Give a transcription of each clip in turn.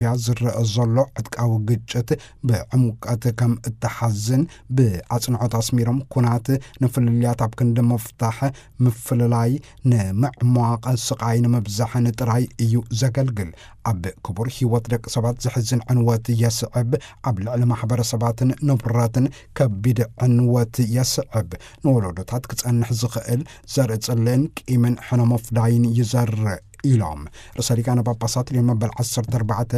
ኢትዮጵያ ዝረአ ዘሎ ዕጥቃዊ ግጭት ብዕምቀት ከም እተሓዝን ብኣጽንዖት ኣስሚሮም፣ ኩናት ንፍልልያት ኣብ ክንዲ ምፍታሕ ምፍልላይ ንምዕሟቕ ስቓይ ንምብዛሕን ጥራይ እዩ ዘገልግል። ኣብ ክቡር ህይወት ደቂ ሰባት ዘሕዝን ዕንወት የስዕብ፣ ኣብ ልዕሊ ማሕበረሰባትን ንብረትን ከቢድ ዕንወት የስዕብ፣ ንወለዶታት ክጸንሕ ዝኽእል ዘርኢ ጽልእን ቂምን ሕነ ምፍዳይን ይዘርእ ኢሎም። ርእሰ ሊቃነ ጳጳሳት ሊዮን መበል ዓሰርተ ኣርባዕተ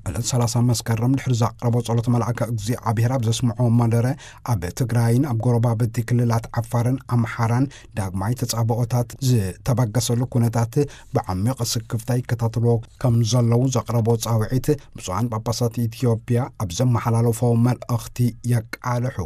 ዕለት ሰላሳ መስከረም ድሕሪ ዘቕረቦ ጸሎት መልኣከ እግዚኣብሔር ኣብ ዘስምዖ መደረ፣ ኣብ ትግራይን ኣብ ጎረባብቲ ክልላት ዓፋርን ኣምሓራን ዳግማይ ተጻብኦታት ዝተበገሰሉ ኩነታት ብዓሚቕ ስክፍታ ይከታተልዎ ከም ዘለዉ ዘቕረቦ ጻውዒት፣ ብፁዓን ጳጳሳት ኢትዮጵያ ኣብ ዘመሓላለፎ መልእኽቲ የቃልሑ።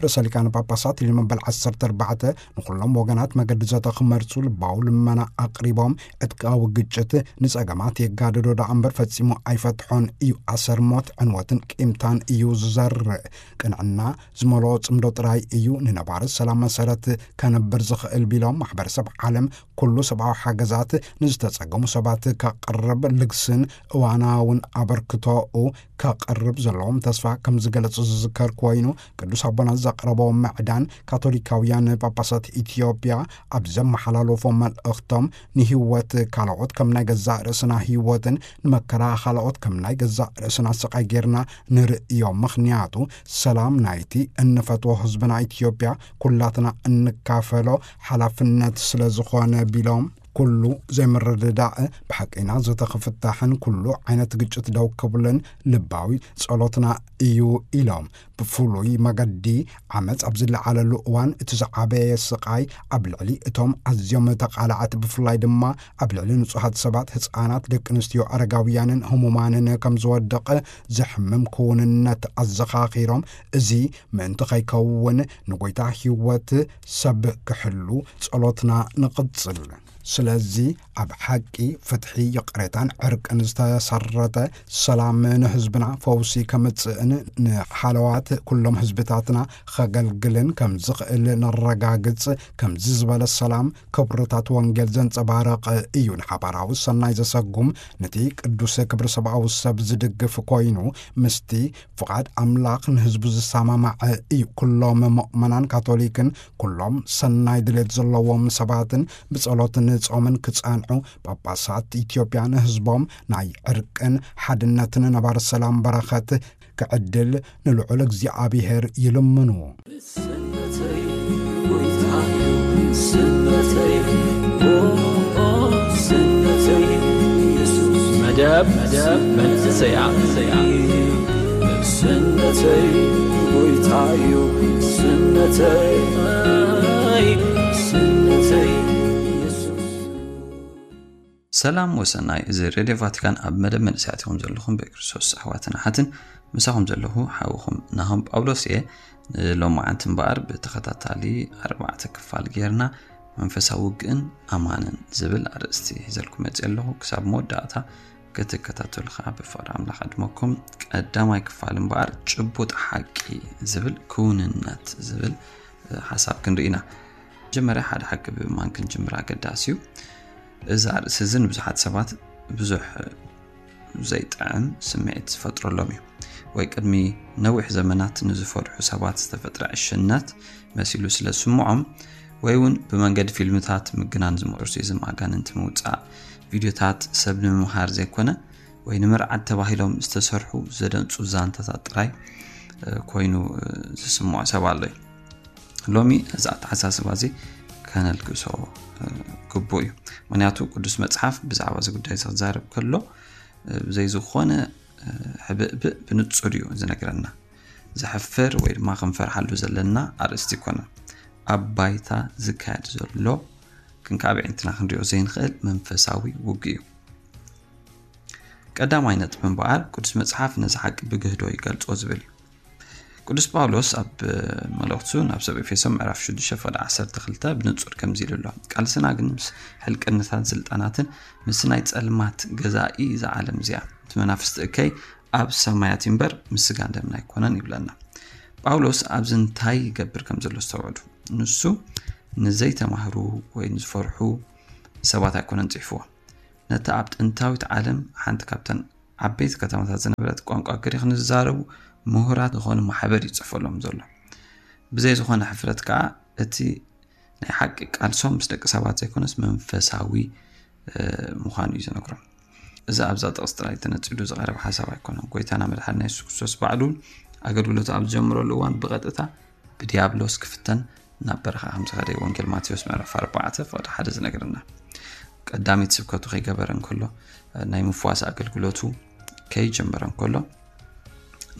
ርእሰ ሊቃነ ጳጳሳት ሊዮን መበል ዓሰርተ ኣርባዕተ ንኹሎም ወገናት መገዲ ዘተ ክመርጹ ልባዊ ልመና ኣቕሪቦም፣ ዕጥቃዊ ግጭት ንጸገማት የጋድዶ ደኣ እምበር ፈጺሙ ኣይፈትሖን እዩ። ኣሰር ሞት፣ ዕንወትን ቂምታን እዩ ዝዘርእ። ቅንዕና ዝመልኦ ጽምዶ ጥራይ እዩ ንነባሪ ሰላም መሰረት ከነብር ዝኽእል ቢሎም፣ ማሕበረሰብ ዓለም ኩሉ ሰብኣዊ ሓገዛት ንዝተጸገሙ ሰባት ከቕርብ ልግስን እዋናውን ኣበርክቶኡ ከቕርብ ዘለዎም ተስፋ ከም ዝገለጹ ዝዝከር ኮይኑ፣ ቅዱስ ኣቦና ዘቕረቦ ምዕዳን ካቶሊካውያን ጳጳሳት ኢትዮጵያ ኣብ ዘመሓላለፎ መልእኽቶም፣ ንህይወት ካልኦት ከም ናይ ገዛእ ርእስና ህይወትን ንመከራ ካልኦት ከም ናይ ገዛእ ርእስና ስቓይ ጌርና ንርእዮ። ምኽንያቱ ሰላም ናይቲ እንፈትዎ ህዝብና ኢትዮጵያ ኩላትና እንካፈሎ ሓላፍነት ስለ ዝኾነ ቢሎም፣ ኩሉ ዘይምርድዳእ ብሓቂና ዘተኽፍታሕን ኩሉ ዓይነት ግጭት ደው ክብልን ልባዊ ጸሎትና እዩ ኢሎም። ብፍሉይ መገዲ ዓመጽ ኣብ ዝለዓለሉ እዋን እቲ ዝዓበየ ስቓይ ኣብ ልዕሊ እቶም ኣዝዮም ተቓላዕቲ፣ ብፍላይ ድማ ኣብ ልዕሊ ንጹሃት ሰባት፣ ህጻናት፣ ደቂ ኣንስትዮ፣ ኣረጋውያንን ህሙማንን ከም ዝወድቕ ዘሕምም ክውንነት ኣዘኻኺሮም፣ እዚ ምእንቲ ከይከውን ንጎይታ ህይወት ሰብ ክሕሉ ጸሎትና ንቕጽል። ስለዚ ኣብ ሓቂ፣ ፍትሒ፣ ይቕሬታን ዕርቅን ዝተሰረተ ሰላም ንህዝብና ፈውሲ ከምጽእን ንሓለዋት ኩሎም ህዝብታትና ከገልግልን ከም ዝኽእል ነረጋግጽ። ከምዚ ዝበለ ሰላም ክብርታት ወንጌል ዘንጸባረቕ እዩ። ንሓባራዊ ሰናይ ዘሰጉም፣ ነቲ ቅዱስ ክብሪ ሰብኣዊ ሰብ ዝድግፍ ኮይኑ፣ ምስቲ ፍቓድ ኣምላኽ ንህዝቡ ዝሰማማዐ እዩ። ኩሎም ምእመናን ካቶሊክን ኩሎም ሰናይ ድሌት ዘለዎም ሰባትን ብጸሎትን ጾምን ክጸንዑ፣ ጳጳሳት ኢትዮጵያ ንህዝቦም ናይ ዕርቅን ሓድነትን ነባሪ ሰላም በረኸት ክዕድል ንልዑል እግዚኣብሔር ይልምኑ። ስነተይ ጎይታዩ፣ ስነተይ፣ ኦ፣ ስነተይ የሱስ። መደብ፣ መደብ መንእሰያ፣ መንእሰያ። ስነተይ ጎይታዩ፣ ስነተይ፣ ስነተይ የሱስ። ሰላም ወሰናይ፣ እዚ ሬድዮ ቫቲካን ኣብ መደብ መንእሰያት ኢኹም ዘለኹም ብክርስቶስ ኣሕዋትን ኣሓትን። ምሳኹም ዘለኹ ሓውኹም ናሆም ጳውሎስ እየ። ንሎማዓንቲ እምበኣር ብተኸታታሊ ኣርባዕተ ክፋል ጌርና መንፈሳዊ ውግእን ኣማንን ዝብል ኣርእስቲ ሒዘልኩም መፅእ ኣለኹ። ክሳብ መወዳእታ ክትከታተሉ ከዓ ብፍቕሪ ኣምላኽ ዕድመኩም። ቀዳማይ ክፋል እምበኣር ጭቡጥ ሓቂ ዝብል፣ ክውንነት ዝብል ሓሳብ ክንርኢ ኢና። መጀመርያ ሓደ ሓቂ ብምእማን ክንጅምር ኣገዳሲ እዩ። እዚ ኣርእሲ እዚ ንብዙሓት ሰባት ብዙሕ ዘይጥዕም ስምዒት ዝፈጥረሎም እዩ። ወይ ቅድሚ ነዊሕ ዘመናት ንዝፈርሑ ሰባት ዝተፈጥረ ዕሽነት መሲሉ ስለ ዝስምዖም፣ ወይ እውን ብመንገዲ ፊልምታት ምግናን፣ ዝምኦርሲዝም፣ ኣጋንንቲ ምውፃእ፣ ቪድዮታት ሰብ ንምምሃር ዘይኮነ ወይ ንምርዓድ ተባሂሎም ዝተሰርሑ ዘደንፁ ዛንታታት ጥራይ ኮይኑ ዝስምዖ ሰብ ኣሎ እዩ። ሎሚ እዚ ኣተሓሳስባ እዚ ከነልግሶ ግቡእ እዩ። ምክንያቱ ቅዱስ መፅሓፍ ብዛዕባ እዚ ጉዳይ እዚ ክዛረብ ከሎ ብዘይ ዝኾነ ሕብእብእ ብንፁር እዩ ዝነግረና። ዘሕፍር ወይ ድማ ክንፈርሓሉ ዘለና ኣርእስቲ ኣይኮነን። ኣብ ባይታ ዝካየድ ዘሎ ግን ካብ ኣዒንትና ክንሪኦ ዘይንኽእል መንፈሳዊ ውግእ እዩ። ቀዳማይ ነጥቢ እምበኣር፣ ቅዱስ መጽሓፍ ነዚ ሓቂ ብግህዶ ይገልጾ ዝብል እዩ። ቅዱስ ጳውሎስ ኣብ መልእኽቱ ናብ ሰብ ኤፌሶን ምዕራፍ ሽዱሽተ ፍቕዲ ዓሰርተ ክልተ ብንጹር ከምዚ ኢሉ ኣሎ፣ "ቃልስና ግን ምስ ሕልቅነታትን ስልጣናትን ምስቲ ናይ ጸልማት ገዛኢ እዛ ዓለም እዚኣ፣ እቲ መናፍስቲ እከይ ኣብ ሰማያት እምበር ምስ ስጋን ደምን ኣይኮነን" ይብለና። ጳውሎስ ኣብዚ እንታይ ይገብር ከም ዘሎ ኣስተውዕሉ። ንሱ ንዘይተማህሩ ወይ ንዝፈርሑ ሰባት ኣይኮነን ጽሒፍዎ። ነታ ኣብ ጥንታዊት ዓለም ሓንቲ ካብተን ዓበይቲ ከተማታት ዝነበረት ቋንቋ ግሪክ ንዝዛረቡ ምሁራት ዝኾኑ ማሕበር ይፅሕፈሎም ዘሎ። ብዘይ ዝኾነ ሕፍረት ከዓ እቲ ናይ ሓቂ ቃልሶም ምስ ደቂ ሰባት ዘይኮነስ መንፈሳዊ ምዃኑ እዩ ዝነግሮም። እዚ ኣብዛ ጥቕስ ጥራይ ተነጺሉ ዝቐረብ ሓሳብ ኣይኮነን። ጎይታና መድሓኒና የሱስ ክርስቶስ ባዕሉ ኣገልግሎቱ ኣብ ዝጀምረሉ እዋን ብቐጥታ ብዲያብሎስ ክፍተን ናብ በረኻ ከም ዝኸደ ወንጌል ማቴዎስ ምዕራፍ ኣርባዕተ ፍቕዲ ሓደ ዝነግረና። ቀዳሚት ስብከቱ ከይገበረ እንከሎ፣ ናይ ምፍዋስ ኣገልግሎቱ ከይጀመረ እንከሎ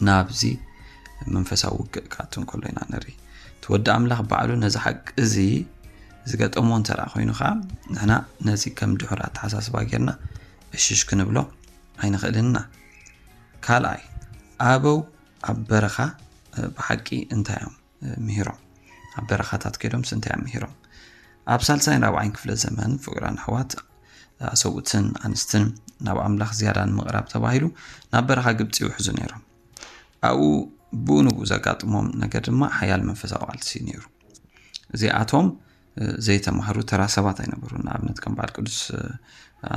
ናብዚ መንፈሳዊ ውግእ ክኣቱ እንከሎ ኢና ንርኢ። እቲ ወዲ ኣምላኽ ባዕሉ ነዚ ሓቂ እዚ ዝገጠሞ እንተ ደኣ ኮይኑ ኸዓ ንሕና ነዚ ከም ድሑር ኣተሓሳስባ ጌርና እሽሽ ክንብሎ ኣይንኽእልን ኢና። ካልኣይ፣ ኣበው ኣብ በረኻ ብሓቂ እንታይ እዮም ምሂሮም? ኣብ በረኻታት ከይዶምስ እንታይ እዮም ምሂሮም? ኣብ ሳልሳይን ራብዓይን ክፍለ ዘመን ፍቕራን ኣሕዋት ኣሰብኡትን ኣንስትን ናብ ኣምላኽ ዝያዳ ንምቕራብ ተባሂሉ ናብ በረኻ ግብፂ ይውሕዙ ነይሮም። ኣብኡ ብኡ ንብኡ ዘጋጥሞም ነገር ድማ ሓያል መንፈሳዊ ቃልሲ ነይሩ። እዚኣቶም ዘይተማህሩ ተራ ሰባት ኣይነበሩን። ንኣብነት ከም በዓል ቅዱስ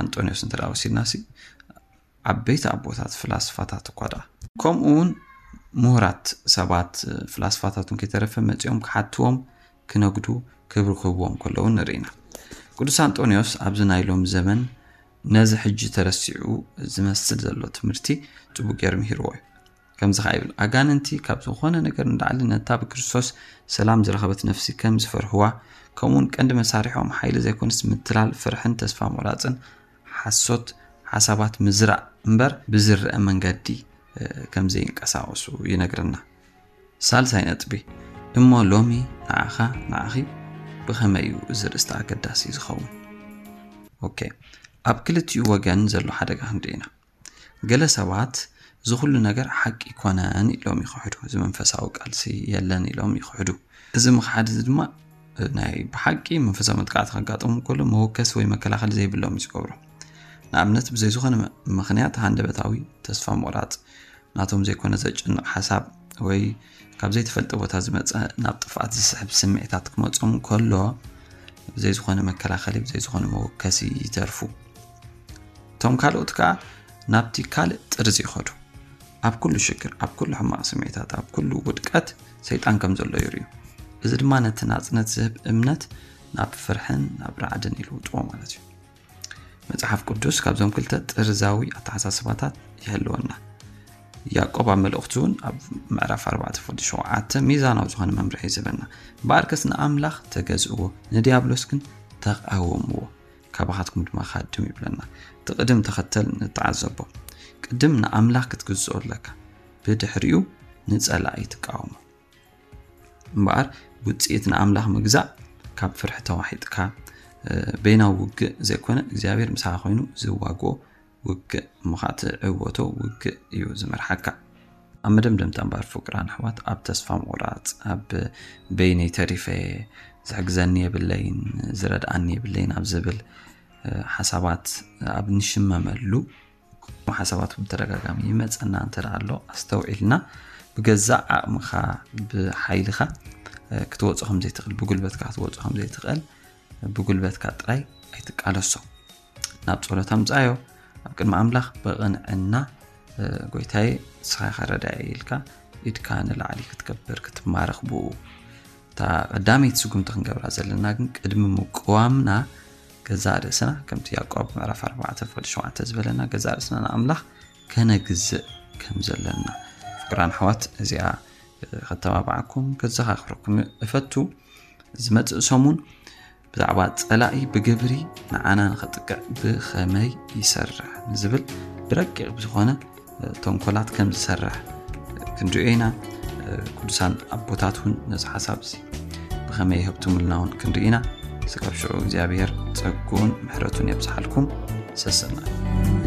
ኣንጦንዮስ እንተ ደኣ ወሲድናሲ ዓበይቲ ኣቦታት ፍላስፋታት እኳ ደኣ ከምኡ እውን ምሁራት ሰባት ፍላስፋታት እውን ከይተረፈ መፂኦም ክሓትዎም ክነግዱ ክብሪ ክህብዎም ከለዉ ንርኢ ኢና። ቅዱስ ኣንጦንዮስ ኣብዚ ናይ ሎሚ ዘመን ነዚ ሕጂ ተረሲዑ ዝመስል ዘሎ ትምህርቲ ጽቡቅ ገይሩ ምሂርዎ እዩ። ከምዚ ኸዓ ይብል፣ ኣጋንንቲ ካብ ዝኾነ ነገር ንላዕሊ ነታ ብክርስቶስ ሰላም ዝረኸበት ነፍሲ ከም ዝፈርህዋ፣ ከምኡውን ቀንዲ መሳርሖም ሓይሊ ዘይኮነስ ምትላል፣ ፍርሕን ተስፋ ምቑራጽን ሓሶት ሓሳባት ምዝራእ እምበር ብዝረአ መንገዲ ከም ዘይንቀሳቐሱ ይነግረና። ሳልሳይ ነጥቢ፣ እሞ ሎሚ ንዓኻ ንዓኺ ብኸመይ እዩ እዚ ርእስቲ ኣገዳሲ ዝኸውን? ኦኬ፣ ኣብ ክልቲኡ ወገን ዘሎ ሓደጋ ክንርኢ ኢና። ገለ ሰባት እዚ ኩሉ ነገር ሓቂ ይኮነን ኢሎም ይኽሕዱ፣ እዚ መንፈሳዊ ቃልሲ የለን ኢሎም ይኽሕዱ። እዚ ምኽሓድ እዚ ድማ ናይ ብሓቂ መንፈሳዊ መጥቃዕቲ ከጋጥሙ ከሎ መወከሲ ወይ መከላኸሊ ዘይብሎም እዩ ዝገብሮ። ንኣብነት ብዘይ ዝኾነ ምኽንያት ሃንደበታዊ ተስፋ ምቑራፅ፣ ናቶም ዘይኮነ ዘጨንቕ ሓሳብ ወይ ካብ ዘይተፈልጠ ቦታ ዝመፀ ናብ ጥፍኣት ዝስሕብ ስምዒታት ክመፆም ከሎ ብዘይ ዝኾነ መከላኸሊ ብዘይ ዝኾነ መወከሲ ይተርፉ። እቶም ካልኦት ከዓ ናብቲ ካልእ ጥርዚ ይኸዱ። ኣብ ኩሉ ሽግር፣ ኣብ ኩሉ ሕማቕ ስምዒታት፣ ኣብ ኩሉ ውድቀት ሰይጣን ከም ዘሎ ይርእዩ። እዚ ድማ ነቲ ናጽነት ዝህብ እምነት ናብ ፍርሕን ናብ ራዕድን ይልውጥዎ ማለት እዩ። መጽሓፍ ቅዱስ ካብዞም ክልተ ጥርዛዊ ኣተሓሳስባታት ይሕልወና። ያዕቆብ ኣብ መልእኽቱ እውን ኣብ ምዕራፍ ኣርባዕተ ፍቕዲ ሸውዓተ ሚዛናዊ ዝኾነ መምርሒ እዩ ዝህበና። እምበኣርከስ ንኣምላኽ ተገዝእዎ፣ ንዲያብሎስ ግን ተቓወምዎ፣ ካባኻትኩም ድማ ክሃድም ይብለና። እቲ ቅድም ተኸተል ንተዓዘቦ። ቅድም ንኣምላኽ ክትግዝኦ ኣለካ፣ ብድሕሪኡ ንጸላኢ ትቃወሞ። እምበኣር ውጽኢት ንኣምላኽ ምግዛእ ካብ ፍርሒ ተዋሒጥካ በይናዊ ውግእ ዘይኮነ እግዚኣብሔር ምሳኻ ኮይኑ ዝዋግኦ ውግእ እሞ ኸዓ ትዕወቶ ውግእ እዩ ዝመርሓካ። ኣብ መደምደምታ እምበኣር ፍቅራን ኣሕዋት ኣብ ተስፋ ምቑራጽ ኣብ በይነይ ተሪፈ ዝሕግዘኒ የብለይን ዝረድኣኒ የብለይን ኣብ ዝብል ሓሳባት ኣብ ንሽመመሉ ሓሳባት ብተደጋጋሚ ይመፀና እንተ ኣሎ ኣስተውዒልና ብገዛእ ዓቕምኻ ብሓይልኻ ክትወፅኦ ከም ዘይትኽእል ብጉልበትካ ክትወፅኦ ከም ዘይትኽእል ብጉልበትካ ጥራይ ኣይትቃለሶ። ናብ ጸሎት ኣምጻዮ ኣብ ቅድሚ ኣምላኽ ብቕንዕና ጎይታዬ ንስኻ ኢኻ ረዳኢ ኢልካ ኢድካ ንላዕሊ ክትገብር ክትማረኽ ብኡ። እታ ቀዳመይቲ ስጉምቲ ክንገብራ ዘለና ግን ቅድሚ ምቅዋምና ገዛእ ርእስና ከምቲ ያዕቆብ ምዕራፍ ኣርባዕተ ፍቕዲ ሸውዓተ ዝበለና ገዛእ ርእስና ንኣምላኽ ከነግዝእ ከም ዘለና ፍቅራን ኣሕዋት እዚኣ ከተባብዓኩም ከዘኻኽረኩም እፈቱ። ዝመጽእ ሰሙን ብዛዕባ ጸላኢ ብግብሪ ንዓና ንኸጥቅዕ ብኸመይ ይሰርሕ ንዝብል ብረቂቕ ብዝኾነ ተንኮላት ከም ዝሰርሕ ክንሪኦ ኢና። ቅዱሳን ኣቦታት እውን ነዚ ሓሳብ እዚ ብኸመይ ይህብትሙልና እውን ክንርኢ ኢና። ስጋብ ሽዑ እግዚኣብሔር ጸግኡን ምሕረቱን የብዝሓልኩም። ሰሰና